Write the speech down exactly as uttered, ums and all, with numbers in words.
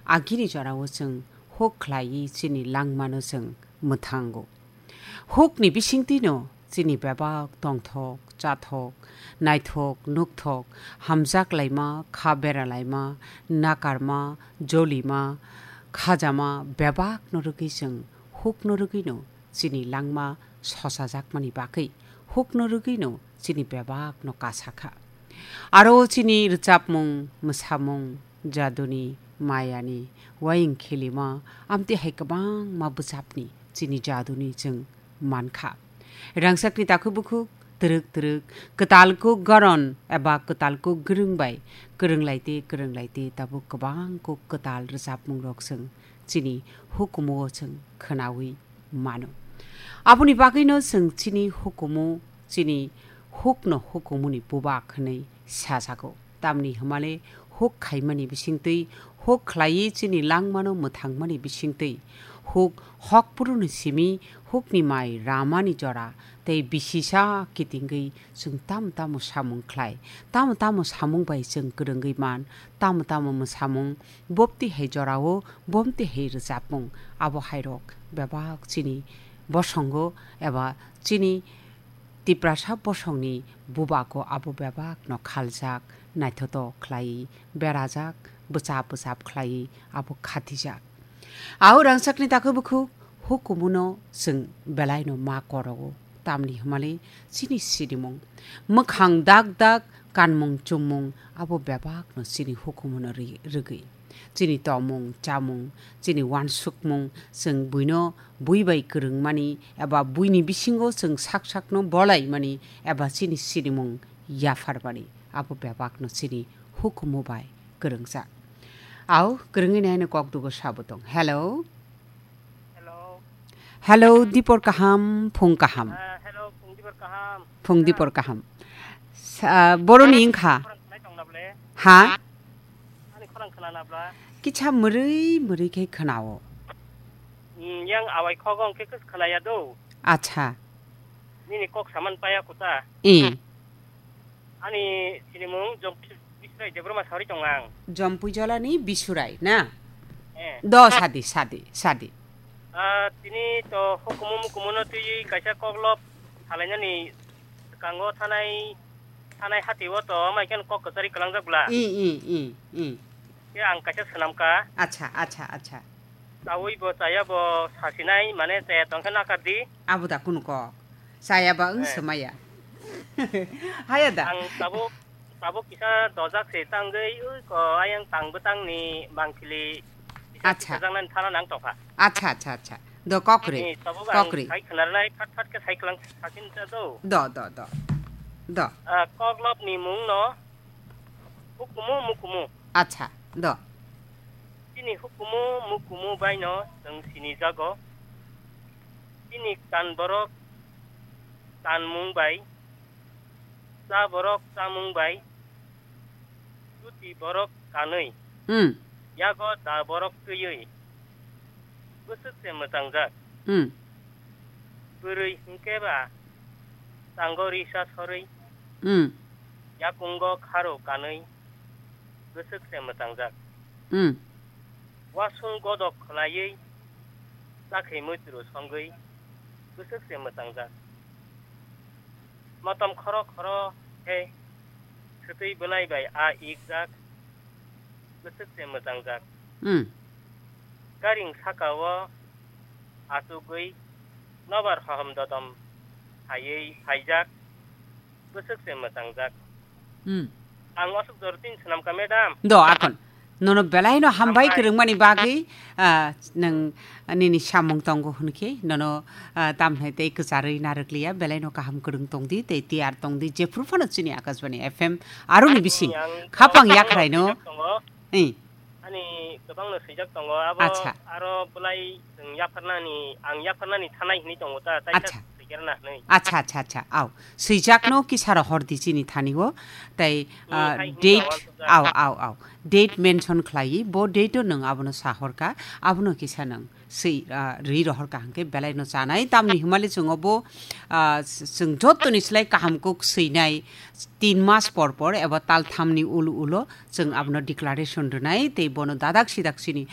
Agini jorao chwng huk khlaiwi chini langmano chwng mwthango. Hukni bisingtwino chini bebak tongthok, chathok, naithok, nukthok, hamjak laima, kha bera laima, nakarma, jolima, khajama bebakno rwgwi chwng hukno rwgwino chini langma sosajakmani bagwi hukno rwgwino chini bebakno kasa kha. Aro chini rwchapmung, mwsamung, jaduni, mayani, waying khilima, amtwi hai kwbangma bwchapni chini jaduni chwng mankha. Rangchakni takhuk bukhuk, twrwk twrwk, kwtal kuk goron eba kwtal kuk gwrwng bai kwrwnglaite kwrwnglaite tabuk kwbang kuk kwtal rwchapmungrok chwng chini hukumu o chwng khwnawi mano. Aboni bagwino chwng chini hukumu, chini hukno hukumuni bubak hwnwi sajago. Tamni hwnmale huk khaimani bisingtwi, huk khlaiwi chini langmano mwthangmani bisingtwi, huk hokphuruni simi hukni mai ramani jora tei bisisa kitingwi chwng tamo tamo samung khlai, tamo tamo samung bai chwng kwrwngwi man, tamo tamo mwsamung bopti hai jorao bomti hai rwchapmung, abo hairok bebak chini bosongo eba chini Tiprasa bosongni bubako abo bebakno khaljak, naithotok khlai, berajak, bwchap bwchap khlai abo khatijak. Au rangchakni takhuk bukhuk hukumuno chwng belaino ma korogo, tamni hwnmale chini sinimung. Mwkhang dak dak, kanmung chumung abo bebakno chini hukumuno ri-, rwgwi. Chini tongmung, chamung, chini uansukmung, chwng buino bui bai kwrwngmani eba buini bisingo chwng sak sakno bolaimani eba chini sinimung yapharmani, abo bebakno chini hukumu bai kwrwngjak. Au kwrwngwi naino kok dugo sabo tong. Hello. Hello. Hello, dipor kaham, phung kaham. Ah, hello, phung dipor kaham. Phung dipor kaham. Sa-, boroni wngkha. Khorang khnai tong na ble? Ha? Ani khorang khna na bla? Kicha mrwi mrwi khe khnao. Hmm, yang awai khogong khe kus khnaya do. Acha. Nini kok saman paya kuta. Eh. Ani sinimung Jompui Bisurai Debbarma sari tong ang. Jompui Jolani Bisurai na? Eh. Do sadi, sadi, sadi. Ah, tini to hukumu mukumu no twi kaisa koklop salainani kango thanai, thanai hati o to mai khen kok kwchari kwlangjak bla. I, i, i, i. Ke ang kaisa swnam ka. Acha, acha, acha. Chawi bo chaya bo sasinai mane chaya tong khe nakar di. Abo da kunu kok. Chaya ba wng Eh. Swmaya. Haya da. Ang tabuk, tabuk kisa dojak se tangwi ui ko ayang tang bwtang ni bangkili kisa Acha. Kisa jang nani thana nang tokha. Acha, acha, acha. Do kokri. Ni tabuk ang Kokri. Sai khnar nai phat phat khe sai klang sakin ta do. Do, do, do. Do. Ah, koklop ni mung no hukumu mukumu. Acha, do. Chini hukumu mukumu baino chwng sinijago. Chini kan borok kanmung bai, cha borok chamung bai, chuti borok kanwi, Hmm. Yago da borok twiwi, bwswk se mwchangjak. Hmm. Bwrwi hwnkhe ba tango risa sorwi, Hmm. Yakungo kharo kanwi, bwswk se mwchangjak. Hmm. Wasung godok khwlaiwi, chakhwi muitu songwi, bwswk se mwchangjak. Motom khoro khoro khe swtwi bwlai bai a ikjak, bwswk se mwchangjak. Hmm. Karing saka o achugwi nobar hohom dodom phaiwi phaijak, bwswk se mwchangjak. Hmm. Ang aswk jor tin swnam ka, madam. Do, akon. Nono belai no hambai Hambai. Kwrwngmani bagwi, ah, nwng nini samung tongo hwn khe, nono, ah, tamhai tei kwcharwi narwk liya, belai no kaham kwrwng tong di, tei tiyar tong di, jephru phano chini Akashbani F M aroni Ani bising ang khapang ang yakhrai no. Tongo. Eh. Ani kwbangno swijak tongo, abo Acha. Aro bwlai chwng yapharnani, ang yapharnani thanai hwnwi tongo ta, tai Acha. Swijakna hwnwi. Acha, acha, acha, au. Swijakno kisa rohor di chini thani o, tai, Hmm, ah, hai hwnwi date, tongo, ang au, au, au. Date mention khlaiwi, bo date o nwng abono sahorka, abono kisa nwng swi, ah, rwi rohorka hwnkhe belai no chanai, tamni hwnmale chwng obo, ah, s-, chwng jottoni slai kaham kuk swinai, tin mas por por eba tal thamni ulo ulo chwng abono declaration rwnai, tei bono dadak sidak chini